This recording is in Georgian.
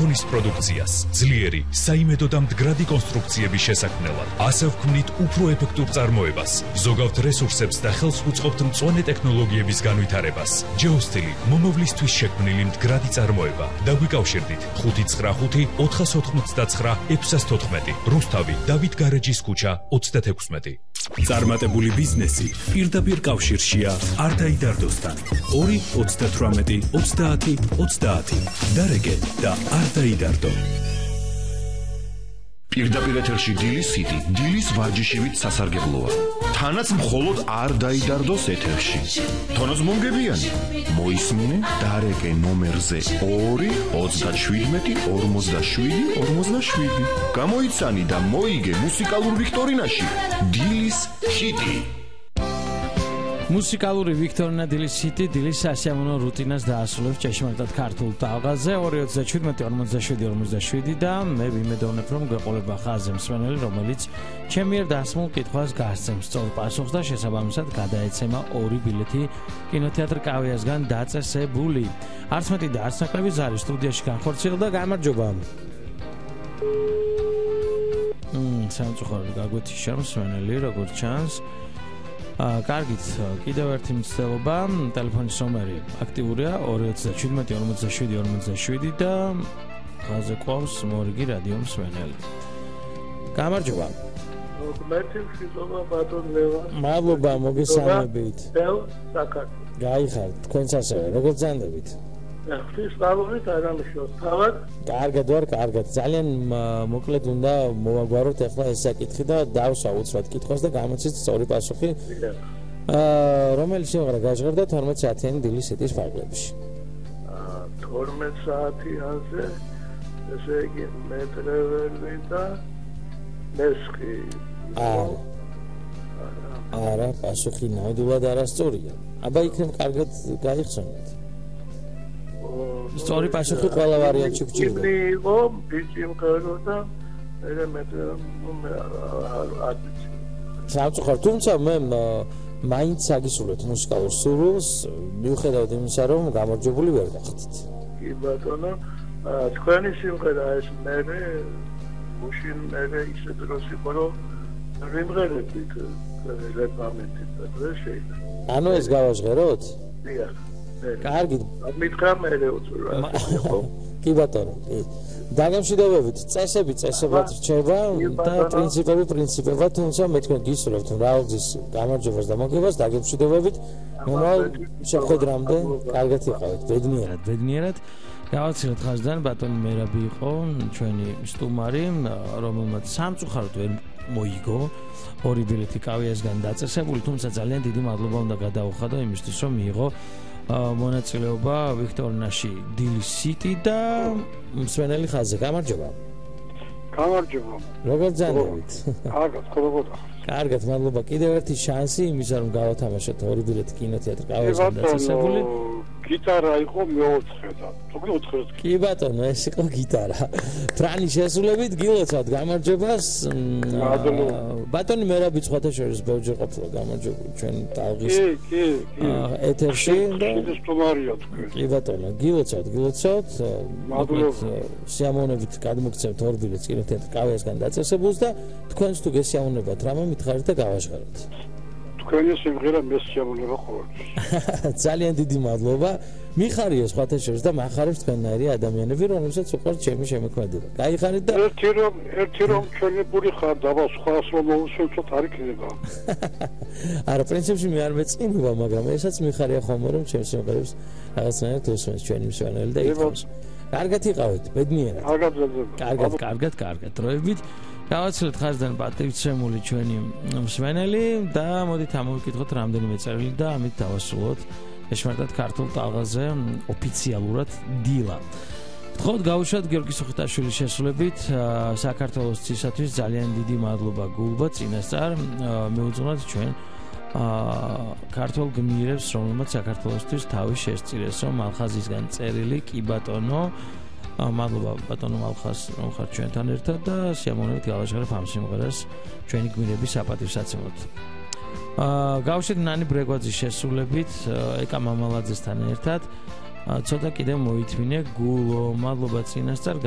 ტონის პროდუქციას, ძლიერი, საიმედო და მდგრადი კონსტრუქციების შესაქმნელად, ასე ვქმნით უფრო ეფექტურ წარმოებას, ზოგავთ რესურსებს და ხელს უწყობთ მწვანე ტექნოლოგიების განვითარებას. Geostili მომავლისთვის შექმნილი მდგრადი წარმოება. დაგვიკავშირდით 595 499 614. რუსთავი, დავით გარეჯის ქუჩა 36. წარმატებული ბიზნესი პირდაპირ კავშირშია არტაიდარდოსთან. 2 38 30 30. დარეგე და არტაიდარდო. პირდაპირ ეთერში დილის ჰიტი, დილის ვარჯიშივით სასარგებლოა. თანაც მხოლოდ არ დაიდარდოს ეთერში. თონოს მომგებიანი, მოისმინე დარეგე ნომერზე 2 37 47 47. გამოიცანი და მოიგე მუსიკალურ ვიქტორინაში დილის ჰიტი. მუსიკალური ვიქტორინა დილის ჰიტი დილის სასიამოვნო რუტინას დაასრულებს ჭეშმარიტად ქართულ ტალღაზე 237-47 და მე ვიმედოვნებ რომ გვეყოლება ხაზზე მსმენელი რომელიც ჩემი მიერ დასმულ კითხვას გასცემს სწორ პასუხს და შესაბამისად გადაეცემა 2 ბილეთი კინოთეატრ კავიასგან დაწესებული. არც მეტი და არც ნაკლები ზარი სტუდიაში განხორციელდა. გამარჯობა. სამწუხაროდ გაგვეთიშა მსმენელი როგორც ჩანს. კარგით, კიდევ ერთი მცდელობა, ტელეფონის ნომერი აქტიურია 237-47 და ხაზზე ყავს მორიგი რადიო მსმენელი. გამარჯობა. მოგმერთი მშვიდობა ბატონ ლევან. მადლობა, მოგესალმებით. საკათი. გაიხართ, თქვენც ასევე, როგორ გძანდებით? ღვთის სწავლობით არამშოს თავად. კარგად ვარ, კარგად. ძალიან მოკლედ უნდა მოვაგვაროთ ახლა ეს საკითხი და დავსვა უცბად კითხვას და გამოცით სწორი პასუხი. რომელი სიმღერა გაჟღერდა 12 საათიანი დილის ჰიტის ფარგლებში? 12 საათიანზე ესე იგი მეტრეველი და მესხი. არა, პასუხი ნამდვილად არასწორია. აბა იქნებ კარგად გაიხსენოთ. სწორი პასუხი ყველა ვარიანტში გვჭირდა. იყო ბიჭი მღერო და მე სამწუხაროდ თუმცა მე მაინც აგისურვებთ მუსიკალურ სურვილს მიუხედავად იმისა რომ გამარჯვებული ვერ გახდით. კი ბატონო, თქვენი სიმღერა ეს მე უშინ მე ისე დროს იყო რომ ვიმღერებით რეკლამით და დღეს შეიძლება. ანუ ეს გავაჟღეროთ? დიახ. კარგი. მითხრა მე უწურა. კი ბატონო. დაგემშვიდობებით, წესებად რჩება და პრინციპებად, თუმცა მე თქვენ გისურვებთ მრავალგზის გამარჯვებას და მოგებას, დაგემშვიდობებით. მომავალ შეხვედრამდე კარგად იყავით, ბედნიერად. გავაცილეთ ხაზიდან ბატონი მერაბი იყო ჩვენი სტუმარი, რომელმაც სამწუხაროდ ვერ მოიგო 2 ბილეთი კავიასგან დაწესებული, თუმცა ძალიან დიდი მადლობა უნდა გადაუხადო იმისთვის, რომ მიიღო მონაწილეობა ვიქტორინაში დილის ჰიტი და მსმენელი ხაზზე. გამარჯობა. გამარჯობა. როგორ გძანდებით? კარგად, ხოლმე. კარგად, მადლობა. კიდევ ერთი შანსი იმისა რომ გავათამაშოთ 2 ბილეთი კინოთეატრ კავიასგან დაწესებული. გიტარა იყო მე-4 და თუმცა 4. კი ბატონო, ეს იყო გიტარა. ფრანი შესრულებით გილოცავთ გამარჯვებას. ბატონი მერაბი სხვათაშორის ბევრჯერ ყოფილა გამარჯვებული ჩვენ ტალღის ეთერში და სტუმარია თქვენ. კი ბატონო, გილოცავთ. მადლობა. სიამოვნებით გადმოგცემთ 2 ბილეთს კინოთეატრ კავიასგან დაწესებულს და თქვენს თუ გესიამოვნებათ რამე მითხარით და გავაჟღეროთ. თქვენი სიმღერა მესიამოვნება ყოველთვის. ძალიან დიდი მადლობა. მიხარია სხვათა შორის და მახარებს თქვენნაირი ადამიანები, რომლებსაც უყვართ ჩემი შემოქმედება. გაიხარით და ერთი რომ ჩვენებური ხარ და სხვას რომ მოусვევთ არ იქნება. არა, პრინციპში მე არ მეწყინება, მაგრამ ესაც მიხარია ხოლმე რომ ჩემს სიმღერებს რაღაცნაირად უსმენს ჩვენი მსმენელი და ითხოვს. კარგად იყავით, ბედნიერად. კარგად, დროებით. გავაცილეთ ხაზიდან პატივცემული ჩვენი მსმენელი და მოდით ამოვიკითხოთ რამდენიმე წერილი და ამით დავასრულოთ ჭეშმარიტად ქართულ ტალღაზე ოფიციალურად დილა. გთხოვთ გავუშვათ გიორგი სუხიტაშვილის შესრულებით საქართველოს ცისათვის ძალიან დიდი მადლობა გულბა წინასწარ მეუძღვნათ ჩვენ ქართულ გმირებს რომელმაც საქართველოსთვის თავი შესწირესო მალხაზისგან წერილი კი ბატონო მადლობა ბატონო მალხაზ რომ ხარ ჩვენთან ერთად და სიამოვნებით გავაჟღერებ ამ სიმღერას ჩვენი გმირების საპატივსაცემად. გავუშვით ნანი ბრეგვაძის შესრულებით ეკა მამალაძესთან ერთად ცოტა კიდე მოითმინე გულო მადლობა წინასწარ